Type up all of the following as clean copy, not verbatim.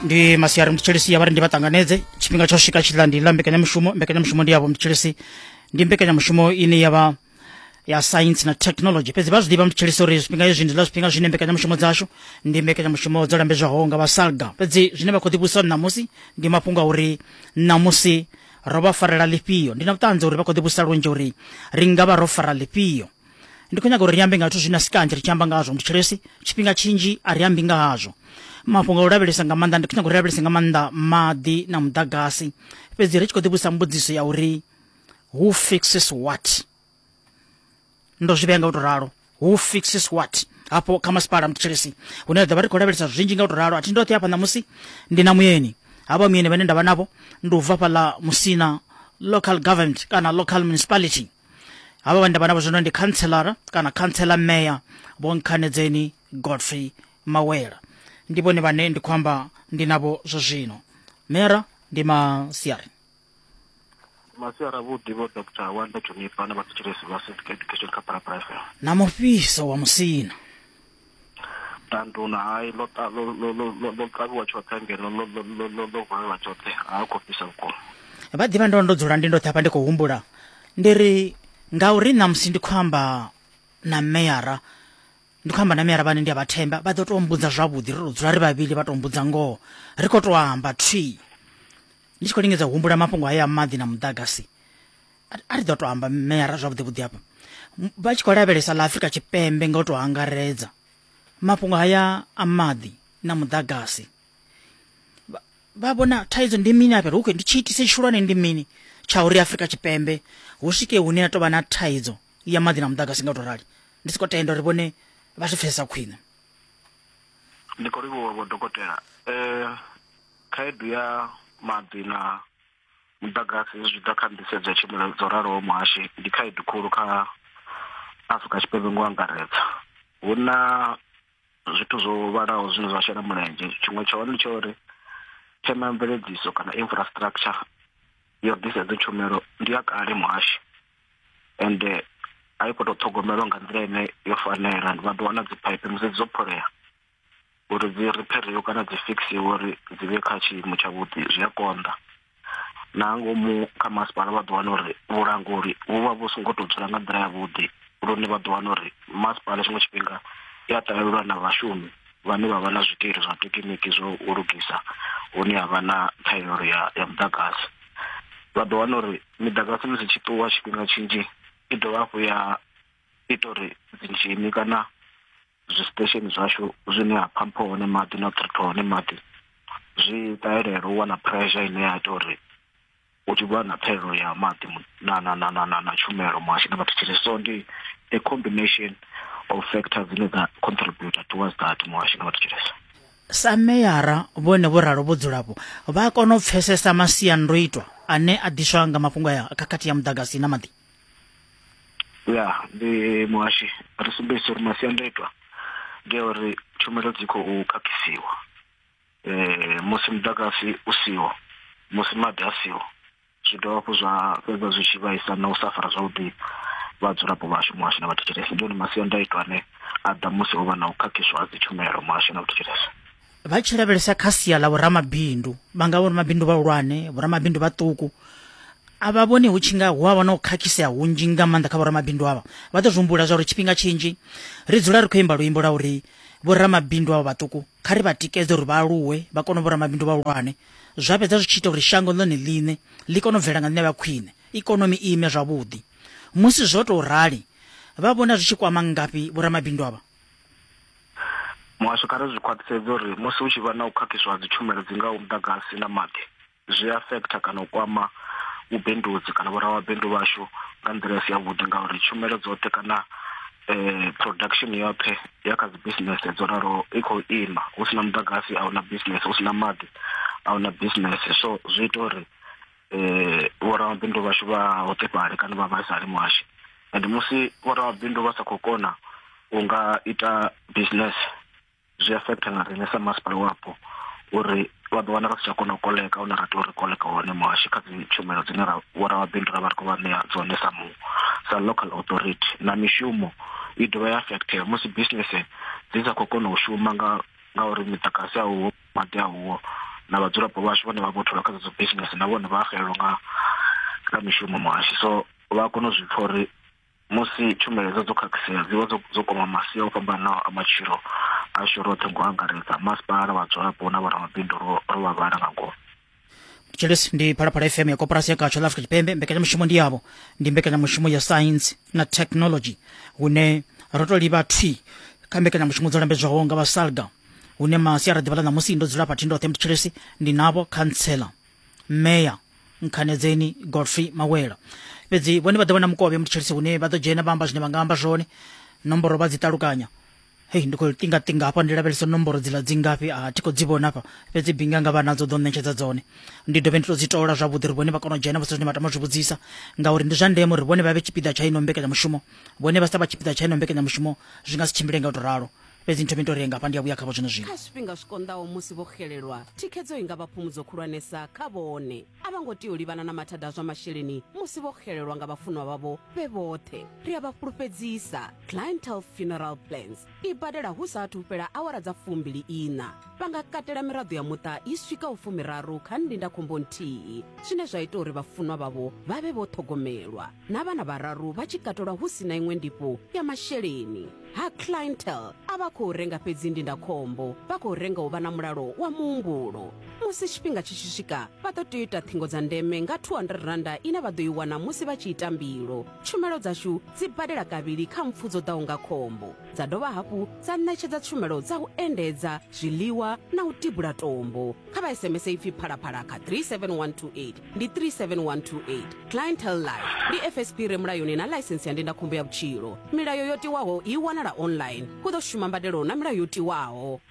Ndi masiari mthetshelesi, ya vha ri ndi vha ṱanganedze. Tshifhinga tsho swika tshiḽa ndi ḽa mbekanyamushumo. Mbekanyamushumo ndi yavho mthetshelesi, ndi mbekanyamushumo ine ya vha ya science na technology. Fhedzi vha zwi ḓivha mthetshelesi uri zwifhinga hezwi ndi ḽa zwifhinga zwine mbekanyamushumo dzashu ndi mbekanyamushumo dzo lambedzwaho nga vha SALGA. Fhedzi zwine vha khou ḓivhusa ṋamusi ndi mafhungo a uri ṋamusi ro vha farela ḽifhio. Ndi na vhuṱanzi uri vha khou ḓivhusa lunzhi uri ri nga vha ro fara ḽifhio. Ndi khou nyaga uri ri ambe nga zwithu zwine a si kanzhi ri tshi amba ngazwo mthetshelesi, tshifhinga tshinzhi a ri ambi nga hazwo. Mafhungo a u lavhelesa nga maanḓa, ndi khou nyaga uri ri lavhelese nga maanḓa maḓi na muḓagasi. Fhedzi ri tshi khou ḓivhusa mbudziso ya uri who fixes what? Ndo zwi vhea nga u tou ralo, who fixes what? Hafho kha masipala mthetshelesi, hune ra ḓo vha ri khou lavhelesa zwinzhi nga u tou ralo. A thi ndoṱhe hafha ṋamusi, ndi na muyeni. Havha muyeni vhane nda vha navho ndi u bva fhaḽa Musina local government kana local municipality. Havha vhane nda vha navho zwino ndi khantselara kana khantsela meya Vho Nkhanedzeni Godfrey Mawela. Ndi vhone vhane ndi khou amba ndi navho zwa zwino. Meyara, ndi masiari. Masiari avhuḓi Vho Doctor Wanda Juniper na vhathetshelesi vha Civic Education kha Phalaphala FM. Na mufhiso wa Musina. Tanduna hai ḽo ḽo ḽo ḽo ḽo kavhiwa tshoṱhe ngeno ḽo ḽo ḽo ḽo ḽo valelwa tshoṱhe ha khou fhisa vhukuma. Vha ḓivha ndo ndo dzula ndi ndoṱhe hafha ndi khou humbula ndi ri ngauri ṋamusi ndi khou amba na meyara, ndi khou amba na meyara vhane ndi a vha themba, vha ḓo tou mbudza zwavhuḓi, ri tou dzula ri vhavhili vha tou mbudza ngoho, ri khou tou amba thwii. Ndi tshi khou lingedza u humbula mafhungo haya a maḓi na muḓagasi, a ri ḓo tou amba meyara zwavhuḓi vhuḓi hafha. Vha tshi khou lavhelesa ḽa Afrika Tshipembe nga u tou angaredza, mafhungo haya a maḓi na muḓagasi, vha vhona thaidzo ndi mini afha? Hu ndi tshiitisi tshihulwane ndi mini tsha uri Afrika Tshipembe hu swike hune ha tou vha na thaidzo ya maḓi na muḓagasi nga u tou rali? Ndi siko tenda uri vhone vha zwi pfesesa khwine. Ndi khou livhuwa vho dokotela. Khaedu ya maḓi na muḓagasi zwi tshi ḓa kha nḓisedzo ya tshumelo dzo raloho muhashi ndi khaedu khulu kha Afrika Tshipembe ngo angaredza. Hu na zwithu zwo vhalaho zwine zwa shela mulenzhe, tshiṅwe tsha hone ndi tsha uri themamveledziso kana infrastructure yo ḓisa hedzo tshumelo ndi ya kale muhashi, ende a i khou tou ṱhogomelwa nga nḓila ine yo fanela. Vha ḓo wana dzi phaiphi musi dzo pholea uri dzi ripheriwe kana dzi fixiwe uri dzi vhe kha tshiimo tshavhuḓi zwi a konḓa. Na ngomu kha masipala vha ḓo wana uri vhulanguli vhu vha vhu songo tou dzula nga nḓila yavhuḓi, lune vha ḓo wana uri masipala tshiṅwe tshifhinga i a ṱalelwa na vhashumi vhane vha vha na zwikili zwa thekiniki zwo u lugisa hune ha vha na ṱhahelelo ya, ya muḓagasi. Vha ḓo wana uri miḓagasi musi tshi ṱuwa tshifhinga tshinzhi i dovha hafhu ya ita uri dzinzhini kana zwi station zwashu zwine ha phampha hone maḓi na u ṱhiritha hone maḓi zwi ṱahelele u wana pressure ine ya ita uri hu tshi vha na ṱhahelelo ya maḓi na na na na na na tshumelo muhasho na vhathetshelesi. So ndi a combination of factors dzine dza contribute towards that muhasho na vhathetshelesi. Sa meyara vhone vho ralo vho dzulapo vha a kona u pfesesa masiandoitwa ane a ḓiswa nga mafhungo aya a khakhathi ya muḓagasi na maḓi? Ya ndi muhashi, ri sumbedzisa uri masiandoitwa ndi a uri tshumelo dzi khou khakhisiwa musi muḓagasi u siho, musi maḓi a siho, zwi dovha hafhu zwa fhedza zwi tshi vhaisa na u sa fara zwavhuḓi vhadzulapo vhashu muhasho na vhathetshelesi. Ndi one masiandaitwa ane a ḓa musi ho vha na u khakhiswa ha dzi tshumelo muhasho na vhathetshelesi. Vha tshi lavhelesa kha sia ḽa vhoramabindu, vha nga vhoramabindu vhahulwane, vhoramabindu vhaṱuku, a vha vhoni hu tshi nga hu a vha na u khakhisea hunzhi nga maanḓa kha vhoramabindu avha? Vha ḓo zwi humbula zwa uri tshifhinga tshinzhi ri dzula ri khou imba luimbo lwa uri vhoramabindu avha vhaṱuku kha ri vha tikedze uri vha aluwe vha kone u vhoramabindu vhahulwane, zwa fhedza zwi tshi ita uri shango ḽone ḽiṋe ḽi kone u bvela nga nḓila ya khwine, ikonomi i ime zwavhuḓi. Musi zwo tou rali, vha vhona zwi tshi kwama ngafhi vhoramabindu avha? Muhasho kha ri zwi khwaṱhisedze uri musi hu tshi vha na u khakhiswa ha dzitshumelo dzi ngaho muḓagasi na maḓi, zwi affecta kana u kwama vhubindudzi kana vhoramabindu vhashu nga nḓila i si yavhuḓi, ngauri tshumelo dzoṱhe kana production yoṱhe ya kha dzi business dzo raloho i khou ima. Hu si na muḓagasi a huna business, hu si na maḓi a huna business. So zwi ita uri vhoramabindu vhashu vha hoṱefhale kana vha vhaisale muhashi. And musi vhoramabindu vha sa khou kona u nga ita business, zwi affecta na riṋe sa masipala wapo uri vha ḓo wana ri si tsha kona u koleka hune ra tea uri koleka hone muhashi kha dzi tshumelo dzine ra vhoramabindu ra vha ri khou vha ṋea dzone sa mu sa local authority. Na mishumo i dovha ya affectea musi business dzi sa khou kona u shuma nga ngauri miḓagasi a uho, maḓi a uho. Na vhadzulapo vhashu vhane vha vho tholwa kha dzedzo business na vhone vha xelelwa nga mishumo muhashi. So vha kona u zwi pfa uri musi tshumelo hedzo dzo khakhisea dzi vha dzo kwama masia o fhambananaho a matshilo ashu roṱhe ngo angaredza masipala, vhadzulapo na vhoramabindu ro vha vhala nga ngomu. Thetshelesi ndi Phalaphala FM ya koporasi ya Gatsho ḽa Afrika Tshipembe. Mbekanyamushumo ndi yavho, ndi mbekanyamushumo ya science na technology, hune ro to livha thwi kha mbekanyamushumo dzo lambedzwaho nga vha SALGA, hune masiari ḓuvha ḽa ṋamusi ndo dzula fha ndoṱhe mthetshelesi ndi navho khantsela meya Nkhanedzeni Godfrey Mawela. Fhedzi vhone vha ḓo vha na mukovhe mthetshelesi, hune vha ḓo dzhena vha amba zwine vha nga amba zwone, nomboro vha dzi ṱalukanya. Hei, ndi khou ṱinga-ṱinga hafha ndi lavhelesa nomboro dziḽa dzi ngafhi, a thi khou dzi vhona hafha, fhedzi binga nga vha nadzo ḓo ṋetshedza dzone. Ndi dovhe ndi tou dzi tola zwavhuḓi uri vhone vha kone u dzhena vha zwine vha tama u zwi vhudzisa, ngauri ndi zwa ndeme uri vhone vha vhe tshipiḓa tsha ino mbekanyamushumo. Vhone vha sa vha tshipiḓa tsha ino mbekanyamushumo zwi nga si tshimbile nga u tou ralo. Fhedzi nthome tou ri ngafha ndi a vhuya khavho zwino zwino. Kha zwifhinga zwi konḓaho musi vho xelelwa, thikhedzo i nga vha phumudzo khulwanesa kha vhone. A vha ngo tea u livhana na mathada a zwa masheleni musi vho xelelwa nga vhafunwa vhavho vhe vhoṱhe. Ri a vha fhulufhedzisa, Clientele Funeral Plans i badela hu sa athu fhela awara dza 24. Vha nga katela miraḓo ya muṱa i swikaho 30 kha ndindakhombo nthihi, zwine zwa ita uri vhafunwa vhavho vha vhe vho ṱhogomelwa, na vhana vhararu vha tshi katelwa hu si na iṅwe ndifho ya masheleni. Ha Clientele a vha khou renga fhedzi ndindakhombo, vha khou renga u vha na mulalo wa muhumbulo. Musi tshifhinga tshi tshi swika, vha ḓo tea u ita ṱhingo dza ndeme nga R200 ine vha ḓo i wana musi vha tshi ita mbilo. Tshumelo dzashu dzi badela kavhili kha mpfu dzo ḓaho nga khombo, dza dovha hafhu dza ṋetshedza tshumelo dza u endedza, zwiḽiwa na u tibula tombo. Kha vha SMS ipfi Phalaphala kha 37128, ndi 37128. Clientele Life ndi FSP re mulayoni na ḽaisensi ya ndindakhombo ya vhutshilo. Milayo yo tiwaho i wanala online. Hu ḓo shuma mbadelo na milayo yo tiwaho.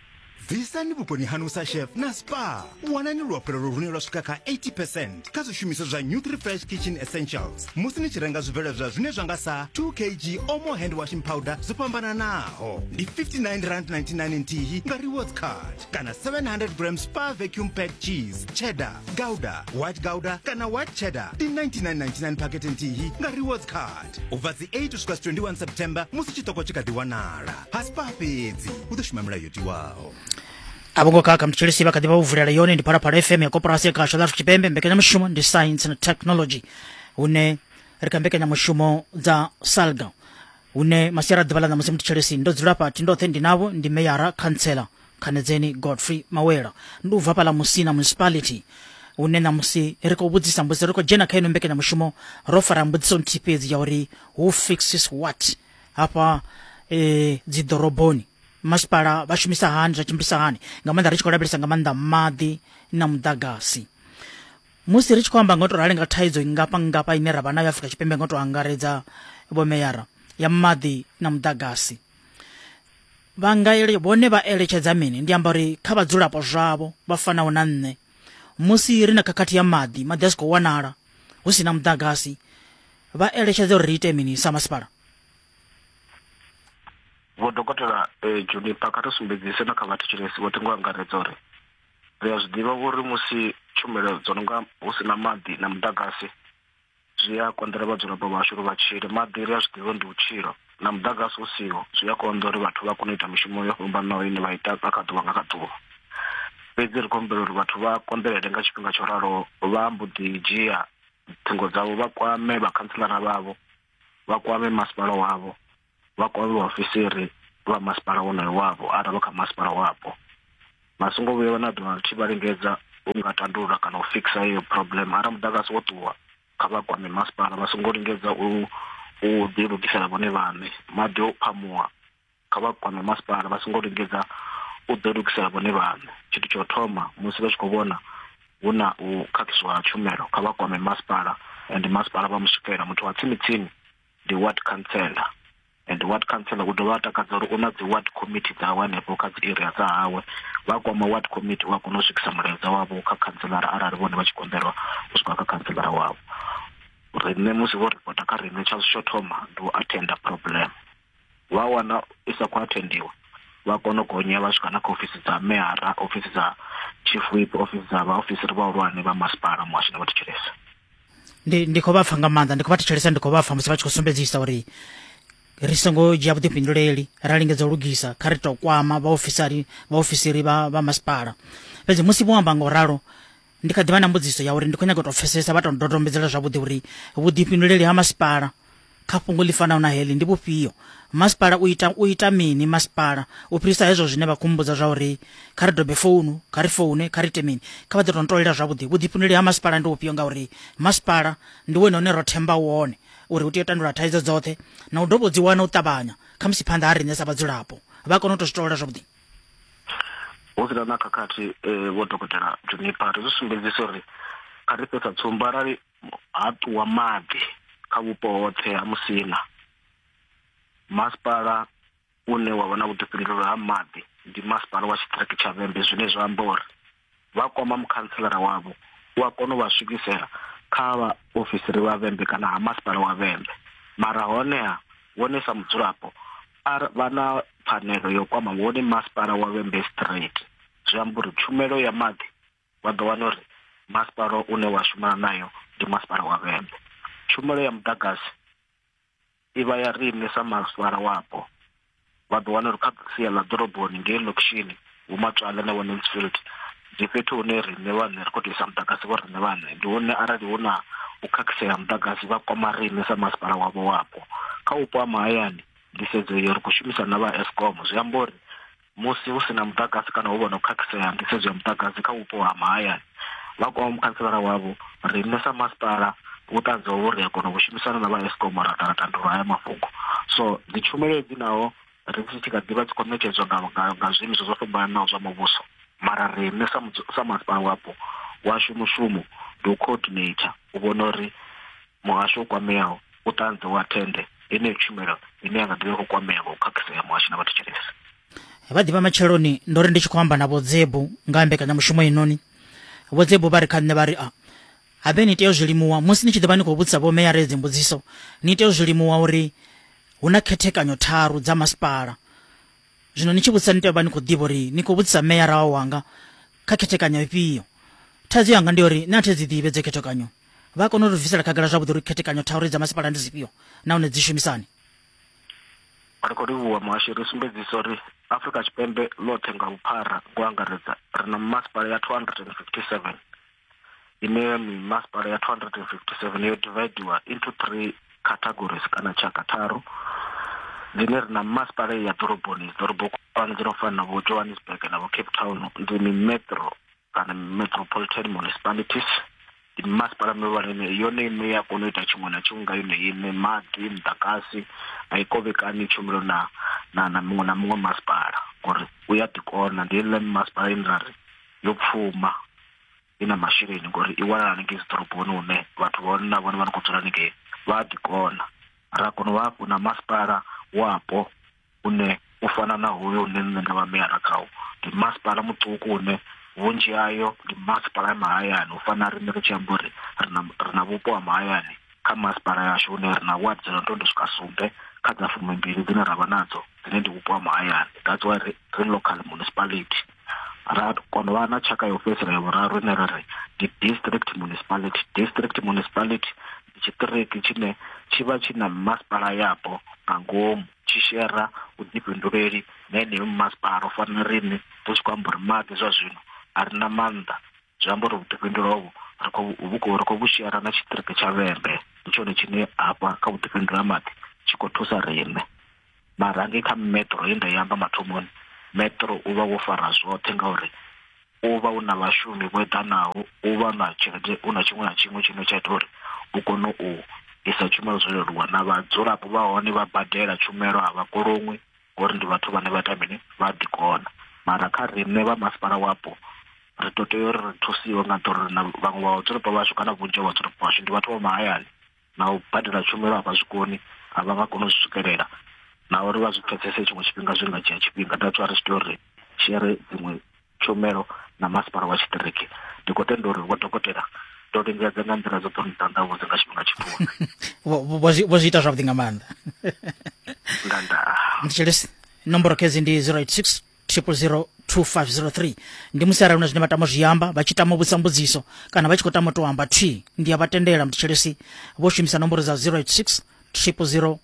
Bvisani vhukoni hanu sa chef na spa. Wanani luafhulelo lune lwa swika kha 80 percent kha zwishumiswa zwa Nutrifresh Kitchen Essentials musi ni tshi renga zwibveledzwa zwine zwa nga sa 2 kg Omo hand washing powder dzo fhambananaho ndi R59.99 nthihi nga rewards card kana 700 gram Spa vacuum packed cheese cheddar, gouda, white gouda kana white cheddar ndi 99.99 phakhethe nthihi nga rewards card u bva dzi 8 u swika 21 September musi tshiṱoko tshi kha ḓi wanala. Ha Spar fhedzi hu ḓo shuma milayo yo tiwaho. A vho ngo khakha mthetshelesi, vha kha ḓi vha vho vulela yone ndi Phalaphala FM ya koporasi ya khasho ḽa Afrika Tshipembe. Mbekanyamushumo ndi science na technology, hune ri kha mbekanyamushumo dza SALGA, hune masiari a ḓuvha ḽa ṋamusi mthetshelesi ndo dzula fha thi ndoṱhe, ndi navho ndi meyara khantsela Khanedzeni Godfrey Mawela, ndi u bva fhaḽa Musina Municipality, hune ṋamusi ri khou vhudzisa mbudziso, ri khou dzhena kha ino mbekanyamushumo ro fara mbudziso nthihi fhedzi ya uri who fixes what hafha dzi ḓoroboni, masipala vha shumisa hani, zwa tshimbilisa hani, nga maanḓa ri tshi khou lavhelesa nga maanḓa maḓi na muḓagasi. Musi ri tshi khou amba nga u tou rali nga thaidzo nngafha nngafha ine ra vha nayo Afrika Tshipembe nga u tou angaredza vhomeyara ya maḓi na muḓagasi, vha nga ele, vhone vha eletshedza mini? Ndi amba uri kha vhadzulapo zwavho vha fanaho na nṋe, musi ri na khakhathi ya maḓi, maḓi a si khou wanala, hu si na muḓagasi, vha eletshedza uri ri ite mini sa masipala? Vho Dokotela Juniper, kha ri sumbedzise na kha vhathetshelesi vhoṱhe ngo angaredza uri ri a zwi ḓivha uri musi tshumelo dzo no nga hu si na maḓi na muḓagasi zwi a konḓela vhadzulapo vhashu uri vha tshile. Maḓi ri a zwi ḓivha ndi vhutshilo, na muḓagasi u siho zwi a konḓa uri vhathu vha kone u ita mishumo yo fhambanaho ine vha ita nga kha ḓuvha nga kha ḓuvha. Fhedzi ri khou humbela uri vhathu vha konḓelele nga tshifhinga tsho raloho, vha mbo ḓi dzhia ṱhingo dzavho vha kwame vhakhantselara vhavho, vha kwame masipala wavho, vha kwame vhaofisiri vha masipala wonoyo wavho arali vha kha masipala wapo. Vha songo vhuya na ḓuvha ḽithihi vha lingedza u nga tandulula kana u fikisa iyo problem. Arali muḓagasi wo ṱuwa, kha vha kwame masipala, vha songo lingedza u ḓi lugisela vhone vhaṋe. Maḓi o phamuwa, kha vha kwame masipala, vha songo lingedza u ḓi lugisela vhone vhaṋe. Tshithu tsha u thoma musi vha tshi khou vhona hu na u khakhiswa ha tshumelo, kha vha kwame masipala, and masipala vha mu swikela. Muthu wa tsini tsini ndi ward councillor, and ward councillor u dovha a takadza uri u na dzi ward committee dzawe hanefho kha dzi area dza hawe. Vha kwama ward committee wa kona u swikisa mulaedza wavho kha councillor arali vhone vha tshi konḓelwa u swika kha councillor wavho. Riṋe musi vho ripota kha riṋe, tsha tsho thoma ndi u attenda problem. Vha wana i sa khou attendiwa, vha kona u gonya vha swika na kha ofisi dza meyara, ofisi dza chief whip, ofisi dza vhaofisiri vhahulwane vha masipala, muhasho na vhathetshelesi. Ndi khou vha pfa nga maanḓa, ndi khou vha thetshelesa, ndi khou vha pfa musi vha tshi khou sumbedzisa uri ri songo dzhia vhuḓifhinduleli ra lingedza u lugisa, kha ri tou kwama vhaofisiri vha masipala. Fhedzi musi vho amba nga u ralo, ndi kha ḓi vha na mbudziso ya uri ndi khou nyaga u tou pfesesa vha tou ndodombedzela zwavhuḓi uri vhuḓifhinduleli ha masipala kha fhungo ḽi fanaho na heḽi ndi vhufhio. Masipala u ita u ita mini masipala u fhirisa hezwo zwine vha khou mmbudza zwa uri kha ri dobe founu, kha ri foune, kha ri ite mini. Kha vha ḓo tou ntolela zwavhuḓi vhuḓifhinduleli ha masipala ndi vhufhio ngauri masipala ndi wone une ro themba wone uri u tea u tandulula thaidzo dzoṱhe na u dovha u dzi wana u ṱavhanya khamusi phanḓa ha riṋe sa vhadzulapo. Vha kone u tou zwi tolela zwavhuḓi. Hu si na na khakhathi eh, vho dokotela Juniper ri zwi sumbedzisa uri kha ri fhe sa tsumbo arali ha ṱuwa maḓi kha vhupo hoṱhe ha Musina masipala une wa vha na vhuḓifhinduleli ha maḓi ndi masipala wa tshiṱiriki tsha Vhembe zwine zwa amba uri vha kwama mukhantselara wavho u a kona u vha swikisela kha vha ofisiri vha Vhembe kana ha masipala wa Vhembe mara honeha vhone sa mudzulapo vha na pfanelo yo kwama wone masipala wa Vhembe straight zwi amba uri tshumelo ya maḓi vha ḓo wana uri masipala une wa shumana nayo ndi masipala wa Vhembe tshumelo ya muḓagasi i vha ya riṋe sa masipala wapo vha ḓo wana uri kha sia ḽa ḓoroboni ngei ḽokishini vho Matswala na vho Mansfield ndi fhethu hune riṋe vhaṋe ri khou tou isa muḓagasi vho riṋe vhaṋe ndi hune arali hu na u khakhisea muḓagasi vha kwama riṋe sa masipala wavho wapo kha vhupo ha mahayani nḓisedzo iyo ri khou shumisana na vha Eskom zwi amba uri musi hu si na muḓagasi kana hu vha na u khakhisea nḓisedzo ya muḓagasi kha vhupo ha mahayani vha kwama mukhantselara wavho riṋe sa masipala vhuṱanzi hovho ri a kona u shumisana na vha Eskom ra ḓa ra tandulula haya mafhungo so dzi tshumelo hedzi naho ri tshi kha ḓivha dzi khou ṋetshedzwa nga, nga, nga zwiimiswa zwo fhambananaho zwa muvhuso mara riṋe sa, sa masipala wapo washu mushumo ndi u coordinator u vhona uri muhasho u kwameaho u ṱanze u athende yeneyo tshumelo ine ya nga ḓivha khou kwamea nga u khakhisea muhasho na vhathetshelesi. Vha ḓivha matsheloni ndo ri ndi tshi khou amba na Vho Dzebu nga ha mbekanyamushumo inoni. Vho Dzebu vha ri kha nṋe vha ri a habe ni tea u zwi limuwa musi ni tshi ḓo vha ni khou vhudzisa vho meyara hedzi mbudziso ni tea u zwi limuwa uri hu na khethekanyo tharu dza masipala. Zwino ni tshi vhudzisa ni tea u vha ni khou ḓivha uri ni khou vhudzisa meyara wanga kha khethekanyo ifhio. Thaidzo yanga ndi uri nṋe a thi dzi ḓivhi hedzo khethekanyo. Vha kona u ri bvisela khagala zwavhuḓi uri khethekanyo tharu dza masipala ndi dzifhio nahone dzi shumisani. Ri khou livhuwa muhashi ri sumbedzisa uri Afrika Tshipembe ḽoṱhe nga vhuphara ngo angaredza ri na mimasipala ya 257 ine mimasipala ya 257 yo dividiwa into three categories kana tshaka tharu dzine ri na mimasipala ya ḓoroboni ḓorobo khulwane dzi no fana na vho Johannesburg na vho Cape Town ndi mimetro kana metropolitan municipalities ndi mimasipala mihulwane ine yone iṋe ya kona u ita tshiṅwe na tshiṅwe nga yone iṋe maḓi muḓagasi a i kovhekani tshumelo na na na muṅwe na muṅwe masipala ngori u ya ḓikona ndi heiḽa mimasipala ine ra ri yo pfuma i na masheleni ngori i wanala hanengei dzi ḓoroboni hune vhathu vha hone na vhone vha no khou dzula hanengei vha a ḓikona ra kona u vha hafhu na masipala wapo une u fana na hoyo une nṋe nda vha meyara khawo ndi masipala muṱuku une vhunzhi hayo ndi masipala ya mahayani u fana na riṋe ri tshi amba uri ri na ri na vhupo ha mahayani kha masipala yashu hune ri na ward dzo no tou swika sumbe kha dza fumimbili dzine ra vha nadzo dzine ndi vhupo ha mahayani that's why ri, ri local municipality ra kona u vha na tshaka ya u fhedzisela ya vhuraru ine ra ri ndi district municipality district municipality ndi tshiṱiriki tshine tshi vha tshi na masipala yapo nga ngomu tshi shera vhuḓifhinduleli na yeneyo mimasipala u fana na riṋe ri tshi khou amba uri maḓi zwa zwino a ri na maanḓa zwi amba uri vhuḓifhinduleli hovhu ri khou vhu khou ri khou vhu shera na tshiṱiriki tsha Vhembe ndi tshone tshine hafha kha vhuḓifhinduleli ha maḓi tshi khou thusa riṋe mara hangei kha metro ye nda i amba mathomoni metro u vha wo fara zwoṱhe ngauri u vha u na vhashumi vho eḓanaho u vha na tshelede u na tshiṅwe na tshiṅwe tshine tsha ita uri u kone u isa tshumelo zwo leluwa na vhadzulapo vha hone vha badela tshumelo a vha koloṅwi ngori ndi vhathu vhane vha ita mini vha ḓikona mara kha riṋe vha masipala wapo ri ḓo tea uri ri thusiwe nga ḓo ri na vhaṅwe vha vhadzulapo vhashu kana vhunzhi ha vhadzulapo vhashu ndi vhathu vha mahayani na u badela tshumelo a vha zwi koni a vha nga koni u zwi swikelela na uri vha zwi pfesese tshiṅwe tshifhinga zwi nga dzhia tshifhinga that's why ri tshi tea uri shere dziṅwe tshumelo na masipala wa tshiṱiriki ndi khou tenda uri vho dokotela ndo lingedza nga nḓila dzoṱhe uri ṱanḓavhudze nga tshifhinga tshipfufhi vho zwi ita zwavhuḓi nga maanḓa nda nda nditshelesi nomboro khedzi ndi 086 000 2503 ndi musi arali huna zwine vha tama zwi amba vha tshi tama u vhudzisa mbudziso kana vha tshi khou tama u tou amba thi ndi a vha tendela mthetshelesi vho shumisa nomboro dza 086 000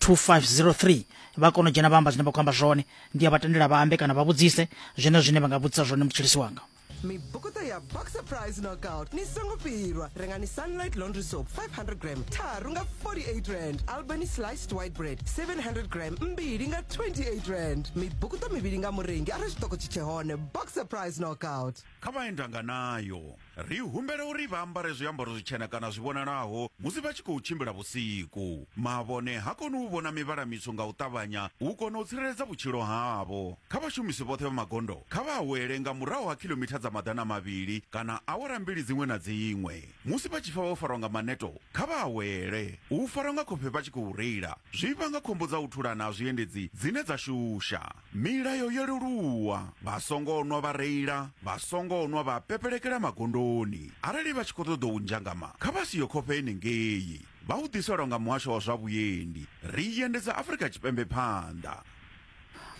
2503 vha kona u dzhena vha amba zwine vha khou amba zwone ndi a vha tendela vha ambe kana vha vhudzise zwene zwine vha nga vhudzisa zwone mthetshelesi wanga. Mibukuṱo ya Boxer Prize Knockout ni songo fhirwa. Rengani Sunlight Laundry Soap 500 gram tharu nga 48 rand, Albany Sliced White Bread 700 gram mbili nga 28 rand. Mibukuṱo mivhili nga murengi arali tshiṱoko tshi tshe hone. Boxer Prize Knockout. Kha vhaendanganayo, ri humbela uri vha ambare zwiambaro zwitshena kana zwi vhonalaho musi vha tshi khou tshimbila vhusiku. Mavhone ha koni u vhona mivhala mitswu nga u ṱavhanya u kona u tsireledza vhutshilo havho. Kha vhashumisi vhoṱhe vha magondo, kha vha awele nga murahu ha khilomitha dza 200 kana awara mbili dziṅwe na dziṅwe. Musi vha tshi pfa vho farwa nga maneto, kha vha awele. U farwa nga khofhe vha tshi khou reila zwi vhanga khombo dza u thulana ha zwiendedzi dzine dza shusha. Milayo yo leluwa, vha songo nwa vha reila, vha songo nwa vha pepelekela magondoni. Arali vha tshi khou ṱoḓa u nzhangama, kha vha siye khofhe henengei. Vha hu ḓiselwa nga Muhasho wa zwa Vhuendi. Ri endedza Afrika Tshipembe phanḓa.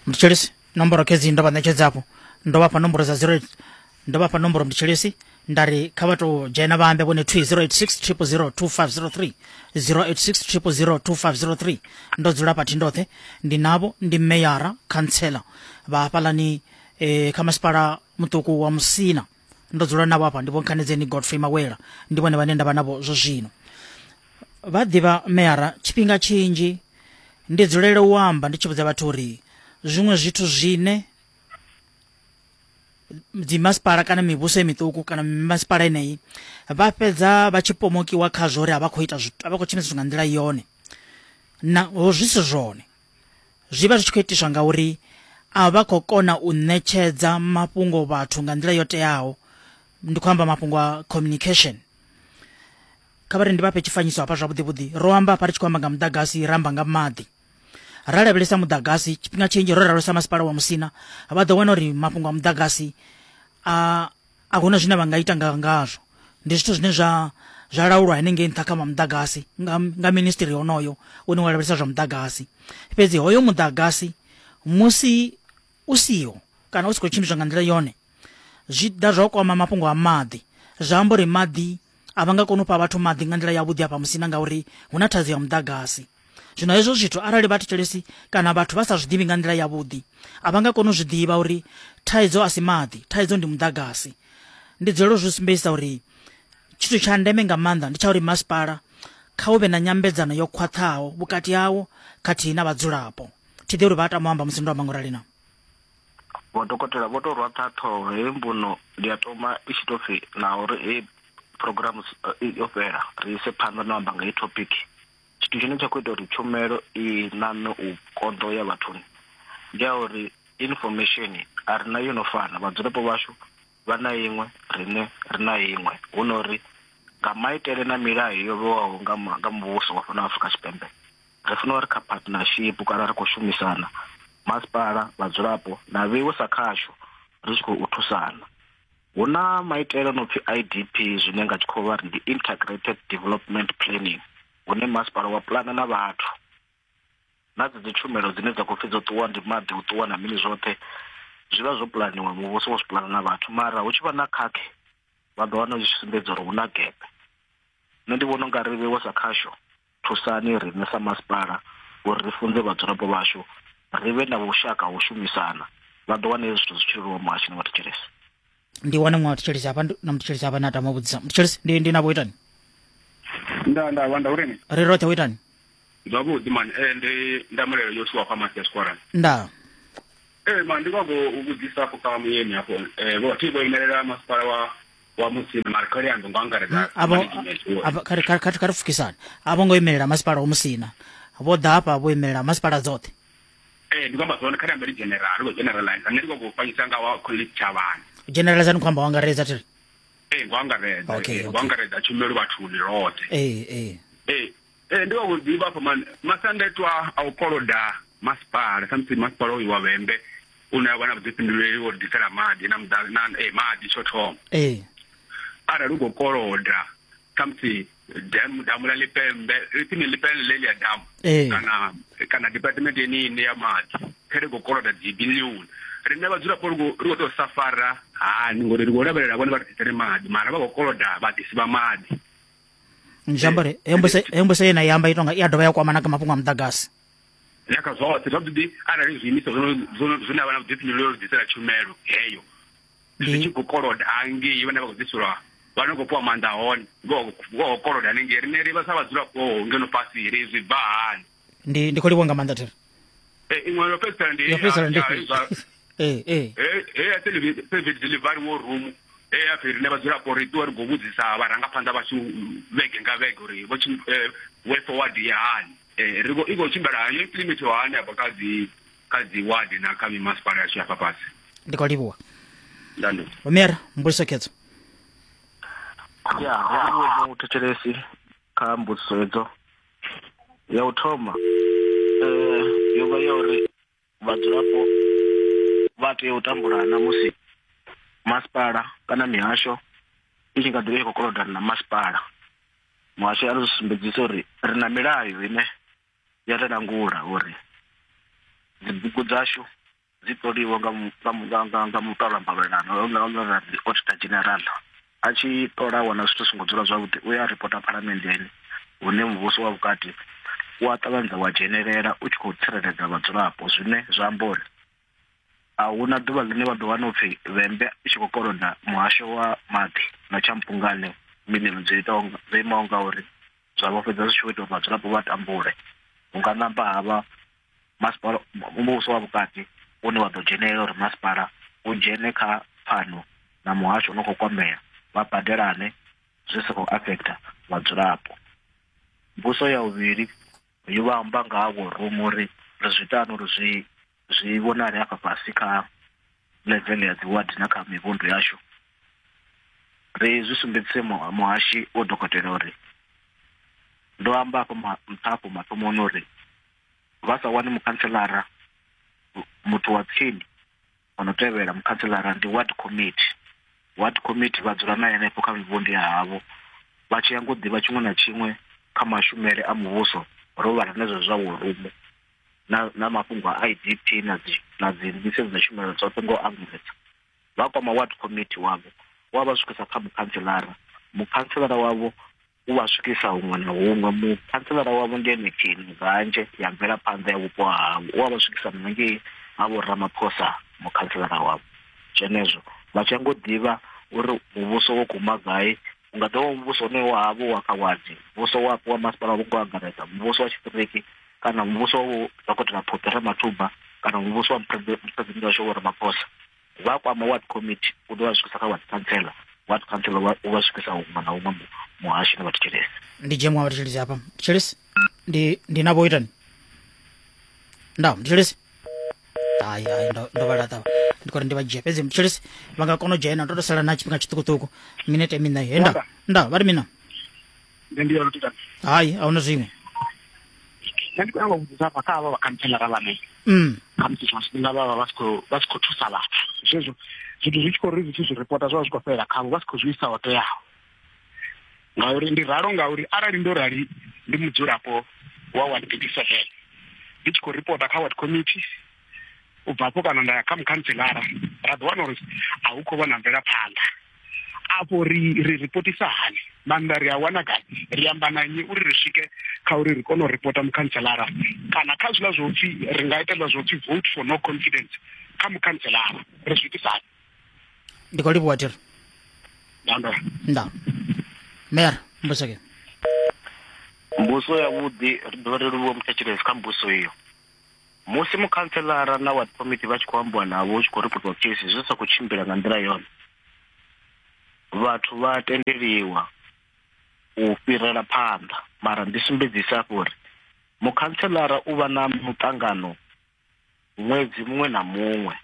Mthetshelesi, nomboro khedzi ndo vha ṋetshedza afho. Ndo vha fha nomboro dza 08 ndo vha fha nomboro mthetshelesi nda ri kha vha tou dzhena vha ambe vhone thwi 086 000 2503 086 000 2503. Ndo dzula hafha thi ndoṱhe, ndi navho, ndi meyara khantsela vha hafhaḽani kha masipala muṱuku wa Musina. Ndo dzula navho hafha, ndi Vho Nkhanedzeni Godfrey Mawela, ndi vhone vhane nda vha navho zwo zwino. Vha ḓivha meyara, tshifhinga tshinzhi ndi dzulela u amba ndi tshi vhudza vhathu uri zwiṅwe zwithu zwine dzimasipala kana mivhuso miṱuku kana mimasipala yeneyi vha fhedza vha tshi pomokiwa khazwo uri a vha khou ita zwithu, a vha khou tshimbidza zwithu nga nḓila yone, naho zwi si zwone. Zwi vha zwi tshi khou itiswa ngauri a vha khou kona u ṋetshedza mafhungo vhathu nga nḓila yo teaho. Ndi khou amba mafhungo a communication. Kha vha ri ndi vha fhe tshifanyiso hafha zwavhuḓi vhuḓi. Ro amba hafha ri tshi khou amba nga muḓagasi, ra amba nga maḓi. Ra lavhelesa muḓagasi, tshifhinga tshinzhi ro lavhelesa masipala wa Musina, vha ḓo wana uri mafhungo a muḓagasi a a huna zwine vha nga ita nga ngazwo. Ndi zwithu zwine zwa zwa laulwa henengei nṱha kha muḓagasi nga nga ministry honoyo une wa lavhelesa zwa muḓagasi. Fhedzi hoyo muḓagasi musi u siho kana u si khou tshimbidzwa nga nḓila yone, zwi ḓa zwa kwama mafhungo a maḓi. Zwa amba uri maḓi a vha nga koni u fha vhathu maḓi nga nḓila yavhuḓi hafha Musina ngauri hu na thaidzo ya muḓagasi. Zwino hezwo zwithu arali vhathetshelesi kana vhathu vha sa zwi ḓivhi nga nḓila yavhuḓi, a vha nga koni u zwi ḓivha uri thaidzo a si maḓi, thaidzo ndi muḓagasi. Ndi dzulela u zwi sumbedzisa uri tshithu tsha ndeme nga maanḓa ndi tsha uri masipala kha hu vhe na nyambedzano yo khwaṱhaho vhukati hawo khathihi na vhadzulapo. Thi ḓivhi uri vha a tama u amba musi ndo amba ngorali na. Vho dokotela vho tou rwa ṱhaha ṱhoho heyi mbuno ndi a toma i tshi tou pfi na uri heyi program yo fhela ri ise phanḓa na u amba nga heyi topic. Tshithu tshine tsha khou ita uri tshumelo i ṋaṋe u konḓa u ya vhathuni ndi ya uri information a ri na yo no fana, vhadzulapo vhashu vha na iṅwe riṋe ri na iṅwe, hu no uri nga maitele na milayo yo vhewaho nga muvhuso wa fhano Afrika Tshipembe ri funa uri kha partnership kana ri khou shumisana masipala, vhadzulapo na vheiwe sa khasho ri tshi khou thusana. Hu na maitele no pfi IDP zwine nga tshikhuwa vha ri ndi Integrated Development Planning, hune masipala wa pulana na vhathu na dzedzi tshumelo dzine dza khou pfi dzo ṱuwa ndi maḓi, u ṱuwa na mini, zwoṱhe zwi vha zwo pulaniwa, muvhuso wo zwi pulana na vhathu, mara hu tshi vha na khakhe vha ḓo wana zwi tshi sumbedza uri hu na gap. Nṋe ndi vhona unga ri vheiwe sa khasho, thusani riṋe sa masipala uri ri funze vhadzulapo vhashu, ri vhe na vhushaka ha u shumisana, vha ḓo wana hezwi zwithu zwi tshi leluwa muhasho na vhathetshelesi. Ndi wane muṅwe muthetshelesi hafha na muthetshelesi hafha na tama u vhudzisa. Muthetshelesi ndi ndi navho itani? Nda nda wanda uri Ri roṱhe u itani? Zwavhuḓi mani, ndi Ndamulelo Yoshua kwa Masiya Square. Nda. Man, ndi khou u vhudzisa afho kha muyeni afho. Vho thi vho imelela masipala wa Musina, mara kha ri ambe nga angaredza Avho management wo. avho kha ri kha ri pfukisane. A vho ngo imelela masipala wa Musina. Vho ḓa hafha vho imelela masipala dzoṱhe. Ndi khou amba zwone, kha ri ambe ri general, ri khou generalize. Nṋe ndi khou fanyisa nga wa tshitshavhani. Generalize ni khou amba wa angaredza thiri. Ngo angaredza, Okay, ngo okay. angaredza tshumelo vhathuni roṱhe. Ee. Ndi khou ḓivha afho man, masiandaitwa a u koloda masipala, samusi masipala uyu wa Vhembe une a vha na vhuḓifhinduleli wo ḓisela maḓi na muḓa na maḓi tsho thoma. Arali u khou koloda khamusi damu, damu ḽa Lipembe, ipfi Lipembe ḽe ḽia damu kana department yeneyi ine ya maḓi, kha ri khou koloda dzi biḽioni. Riṋe vhadzulapo ri khou tou safara hani ngori ri khou lavhelela vhone vha ri ḓisele maḓi, mara vha khou koloda vhaḓisi vha maḓi. Zwi amba uri heyo mbudziso ye na i amba i tonga i a dovha ya kwama na kha mafhungo a muḓagasi. Na kha zwoṱhe zwavhuḓi, arali zwiimiswa zwine vha na vhuḓifhinduleli uri ḓisela tshumelo heyo. Zwi tshi khou koloda hangei vhane vha khou ḓiselwa vha no khou fhiwa maanḓa hone vho khou koloda hanengei riṋe ri vha sa vhadzulapo ngeno fhasi ri zwi bva hani. Ndi ndi khou livhuwa nga maanḓa thiri. Iṅwe yo fhedzisela ndi Yo fhedzisela ndi ee ee he ya service delivery war room he ya pfi riṋe vhadzulapo ri ṱuwe ri khou vhudzisa vharangaphanḓa vhashu vhege nga vhege uri vho way forward ya hani ri khou i khou tshimbila hani yo implementiwa hani afha kha dzi kha dzi ward na kha mimasipala yashu ya fhasi. Ndi khou livhuwa. Ndando. Vho mbudziso khedzo. Ya, ro livhuwa muthetshelesi kha mbudziso hedzo. Ya u thoma yo vha ya uri vhadzulapo vha tea u tambula na musi masipala kana mihasho i tshi nga ḓivha i khou kolodana na masipala. Muhasho a ri sumbedzisa uri ri na milayo ine ya ri langula uri dzibugu dzashu dzi ṱoliwa nga muṱola mbalelano auditor general a tshi ṱola wana zwithu songo dzula zwavhuḓi u ya ripota phalamenndeni hune muvhuso wa vhukati u a ṱavhanyedza wa dzhenelela u tshi khou tsireledza vhadzulapo, zwine zwa amba uri a huna ḓuvha ḽine vha ḓo wana upfhi Vhembe i tshi khou koloda muhasho wa maḓi na tshampungane miḽioni dzo itaho dzo imaho nga uri zwa vho fhedza zwi tshi vho ita uri vhadzulapo vha tambule. Hu nga namba havha masipala muvhuso wa vhukati une wa ḓo dzhenelela uri masipala u dzhene kha pfano na muhasho u no khou kwamea vha badelane zwi sa khou affecta vhadzulapo. Mbuso ya vhuvhili yo vha amba nga ha war room uri ri zwi ita hani uri zwi zwi vhonale hafha fhasi kha level ya dzi ward na kha mivhundu yashu. Ri zwi sumbedzise muhashi wo dokotela uri ndo amba afho nṱha afho mathomoni uri vha sa wani mukhantselara muthu wa tsini ono tevhela mukhantselara ndi ward committee. Ward committee vha dzula na henefho kha mivhundu ya havho vha tshi ya ngo ḓivha tshiṅwe na tshiṅwe kha mashumele a muvhuso ro vhala na zwezwo zwa war room na mafhungo a IDP na dzi na dzi nḓisedzo dza tshumelo dzoṱhe ngo angaredza. Vha kwama ward committee wavho wa vha swikisa kha mukhantselara, mukhantselara wavho u vha swikisa huṅwe na huṅwe, mukhantselara wavho ndi ene khini ganje ya mvelaphanḓa ya vhupo havho, u a vha swikisa na ngei ha vho Ramaphosa mukhantselara wavho. Zwenezwo vha tshi ngo ḓivha uri muvhuso wo guma gai, u nga ḓovha muvhuso une wa havho wa kha wadi, muvhuso wapo wa masipala wo ngo angaredza, muvhuso wa tshiṱiriki kana muvhuso wa dokotela Phophi Ramathuba kana muvhuso wa muphuresidennde washu Vho Ramaphosa. Vha kwama ward committee u ḓo vha swikisa kha ward councillor, ward councillor u vha swikisa huṅwe na huṅwe muhashi na vhathetshelesi. Ndi dzhia muṅwe wa vhathetshelesi hafha. Muthetshelesi ndi ndi navho itani? Nda muthetshelesi hai hai ndo ndo vha laṱa ndi khou ri ndi vha dzhia fhedzi muthetshelesi vha nga kona u dzhena ndo to sala na tshifhinga tshiṱukuṱuku minete miṋa he nda nda vha ri mina Nṋe ndi yone tita. Hai a huna zwiṅwe. Nṋe ndi khou nyanga u vhudzisa hafha kha havha vhakhantselara vhane khamusi tshiṅwe tshifhinga vha vha vha si khou vha si khou thusa vhathu zwezwo zwithu zwi tshi khou ri zwi tshi zwi ripota zwi vha zwi khou fhelela khavho vha si khou zwi isa ho teaho. Ngauri ndi ralo ngauri arali ndo rali ndi mudzulapo wa ward 37 ndi tshi khou ripota kha ward committee u bva afho kana nda ya kha mukhantselara ra ḓo wana uri a hu khou vha na mvelaphanḓa. Afho ri ri ripotisa hani maanḓa ri a wana gai ri amba na nnyi uri ri swike kha uri ri kone u ripota mukhantselara kana kha zwiḽa zwo pfhi ri nga ita zwiḽa zwo pfhi vote for no confidence kha mukhantselara ri zwi itisa hani. Ndi khou livhuwa thiri. Nda nda mayor mbuseke. Mbuso ya vhuḓi ri dovha ri livhuwa muthetshelesi kha mbuso iyo. Musi mukhantselara na ward committee vha tshi khou ambiwa navho hu tshi khou ripotiwa case zwi sa khou tshimbila nga nḓila yone, vhathu vha tendeliwa u fhirela phanḓa. Mara ndi sumbedzisa hafho uri mukhantselara u vha na muṱangano ṅwedzi muṅwe na muṅwe,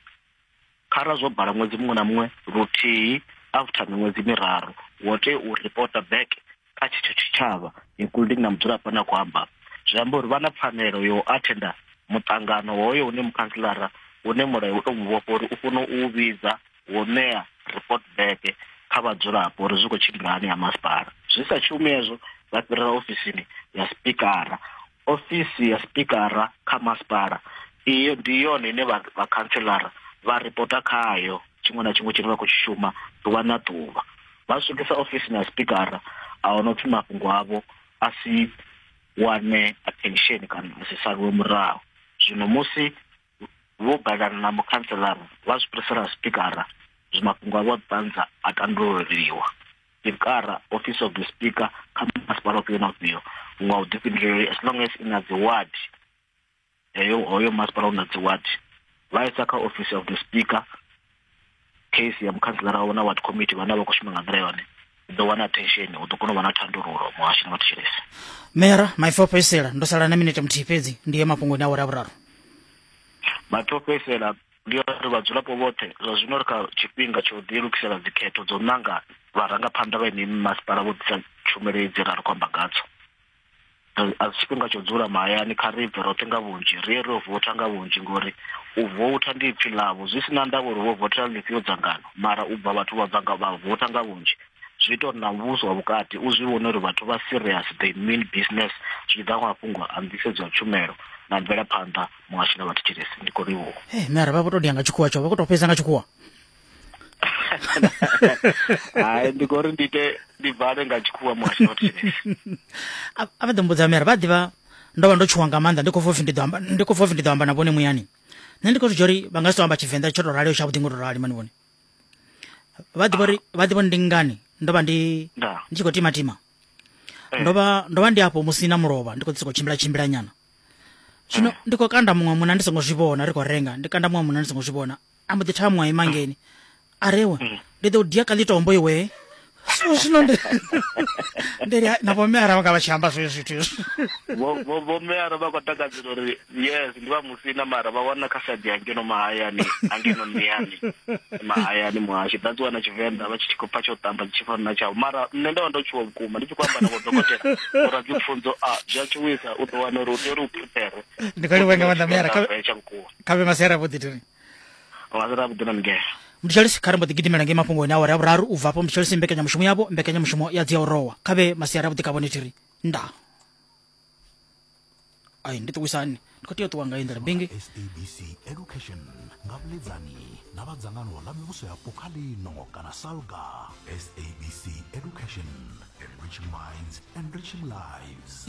khara zwo bala ṅwedzi muṅwe na muṅwe luthihi after miṅwedzi miraru wo tea u ripota back kha tshetsho tshitshavha including na mudzulapo ane a khou amba. Zwi amba uri vha na pfanelo yo athenda muṱangano hoyo une mukhantselara une mulayo u tou mu vhofha uri u funa u vhidza wo ṋea report back kha vhadzulapo uri zwi khou tshimbila hani ha masipala. Zwi sa shumi hezwo vha fhirela ofisini ya spikara. Ofisi ya spikara kha masipala iyo ndi yone ine vha vhakhantselara vha ripota khayo tshiṅwe na tshiṅwe tshine vha khou tshi shuma ḓuvha na ḓuvha. Vha swikisa ofisini ya spikara a huna upfhi mafhungo avho a si wane attention kana a si saliwe murahu. Zwino musi vho balelana na mukhantselara vha zwi fhirisela spikara. Mafhungo avho a ṱanza a tandululiwa. Speaker, Office of the Speaker kha masipala ufhio na ufhio nga vhuḓifhinduleli, as long as i na dzi ward, heyo hoyo masipala u na dzi ward, vha isa kha Office of the Speaker case ya mukhantselara wavho na ward committee vhane vha khou shuma nga nḓila yone, u ḓo wana attention, hu ḓo kona u vha na thandululo muhasho na vhathetshelesi. Meyara, maipfi o fhedzisela, ndo sala na minete muthihi fhedzi ndi ye mafhungoni a awara ya vhuraru. Maipfi o fhedzisela ndi a uri vhadzulapo vhoṱhe zwa zwino ri kha tshifhinga tsha u ḓilugisela dzikhetho dzo nanga vharangaphanḓa vha yeneyi mimasipala vho ḓisa tshumelo idzi ra ri khou amba ngadzo. A si tshifhinga tsha u dzula mahayani, kha ri bve roṱhe nga vhunzhi ri ye ri yo votha nga vhunzhi ngori u voutha ndi ipfhi ḽavho, zwi si na ndavha uri vho vothela ḽifhio dzangano, mara u bva vhathu vha bva nga vha votha nga vhunzhi zwi ita uri na muvhuso wa vhukati u zwi vhone uri vhathu vha serious, they mean business zwi tshi ḓa kha mafhungo a nḓisedzo ya tshumelo na mvelaphanḓa muhasho na vhathetshelesi. Ndi khou livhuwa. Hey, mara vha vho to dia nga tshikhuwa tsho vha khou tou fhedza nga tshikhuwa. Hai, ndi khou ri ndi ite ndi vale nga tshikhuwa muhasho na vhathetshelesi. A vha ḓo mbudza mara vha ḓivha ndo vha ndo tshuwa nga maanḓa, ndi khou pfa upfi ndi ḓo amba, ndi khou pfa upfi ndi ḓo amba na vhone muyani. Nṋe ndi khou zwi dzhia uri vha nga si to amba Tshivenḓa tsho to raliho tshavhuḓi ngo to rali mani vhone. Vha ḓivha uri vha ḓivha ndi ngani ndo vha ndi ndi tshi khou timatima. Ndo vha ndo vha ndi afho musi na mulovha ndi khou ḓi sokou tshimbila tshimbila nyana. Zwino ndi khou kanda muṅwe munna ndi songo zwi vhona, ri khou renga ndi kanda muṅwe munna ndi songo zwi vhona, a mbo ḓi thavha muṅwe a ima ngeni a rewe ndi ḓo dia ka ḽitombo iwe. So zwino ndi ndi ri na vho mme arali vha nga vha tshi amba zwezwo zwithu hezwo. Vho vho vho mme ara vha khou takadzela uri yes ndi vha musina, mara vha wana kha side ya ngeno mahayani angeno nḓiani mahayani muhasho that's why na Tshivenḓa vha tshi khou pfa tsho tamba tshi fana na tshavho. Mara nṋe ndo vha ndo tshuwa vhukuma ndi tshi khou amba na vho dokotela vho radzipfunzo, a zwi a tshuwisa, u ḓo wana uri u tea uri u prepare. Ndi khou livhuwa nga maanḓa meyara, kha tsha vhukuma kha vhe masiari avhuḓi tiri. Masiari avhuḓi na migelo. Mthetshelesi, kha ri mbo ḓi gidimela ngei mafhungoni a awara ya vhuraru. U bva afho mthetshelesi mbekanyamushumo yavho, mbekanyamushumo ya dzia u rowa. Kha vhe masiari avhuḓi kha vhone thiri ndaa. Ai, ndi ṱuwisani ndi khou tea u ṱuwa nga iyi nḓila bingi. SABC Education nga vhuledzani na vha dzangano ḽa mivhuso yapo kha ḽino kana SALGA. SABC Education, enriching minds, enriching lives.